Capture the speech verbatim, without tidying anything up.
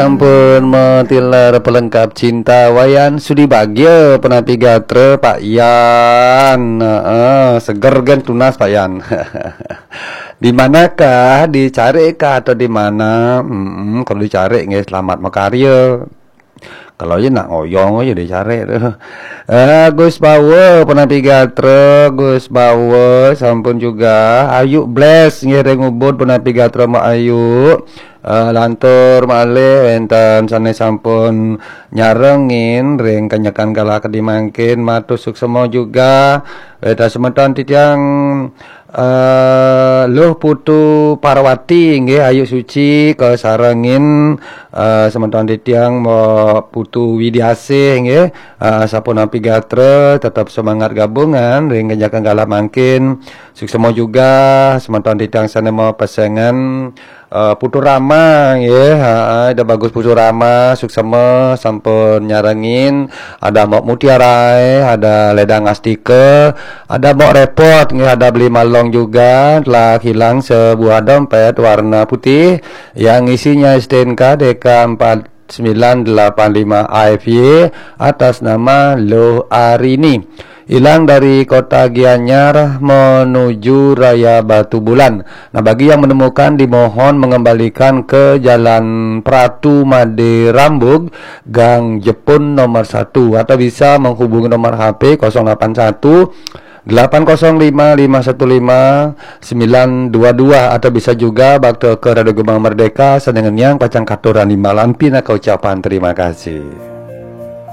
Ampun, metilar pelengkap cinta Wayan Sudi Bagya, penapi gatra Pak Yan. Heeh, seger gen tunas Pak Yan. Di manakah, dicari kah atau di mana? Mm-mm, kalau dicari nggih selamat makarya. Kalau ya nak ngoyong aja dicari tuh. Eh, Gus Bawa, penapi gatra, Gus Bawa, sampun juga. Ayu Bless, nggih ring Ubud, penapi gatra Mbak Ayu. Eh, lantur malih wenten sane sampun nyarengin ring kanyekan galah kadi mangkin, matur suksema juga. Wenten semeton titiang, eh, Luh Putu Parwati, nggih, Ayu Suci, kasarengin, eh, semeton titiang Mbok Putu Widiasih, nggih, eh, sapunapi gatra, tetep semangat gabungan ring kanyekan galah mangkin. Suksema juga semeton titiang sane mapesengan, eh, Putu Rama, nggih, heeh, Ida Bagus Putu Rama, suksema sampun nyarengin, ada Mbok Mutiara, ada Ledang Astika, ada Mbok Repot, nggih, ada Beli Malong juga, telah hilang sebuah dompet warna putih yang isinya S T N K D K empat sembilan delapan lima A F Y atas nama Luh Arini. Hilang dari kota Gianyar menuju Raya Batubulan. Nah, bagi yang menemukan, dimohon mengembalikan ke Jalan Pratu Made Rambug, Gang Jepun nomor satu, atau bisa menghubungi nomor H P kosong lapan satu, delapan kosong lima, lima satu lima, sembilan dua dua, atau bisa juga bakta ke Radio Gema Merdeka, sadangan yang pacang katurang di malam pinaka ucapan terima kasih.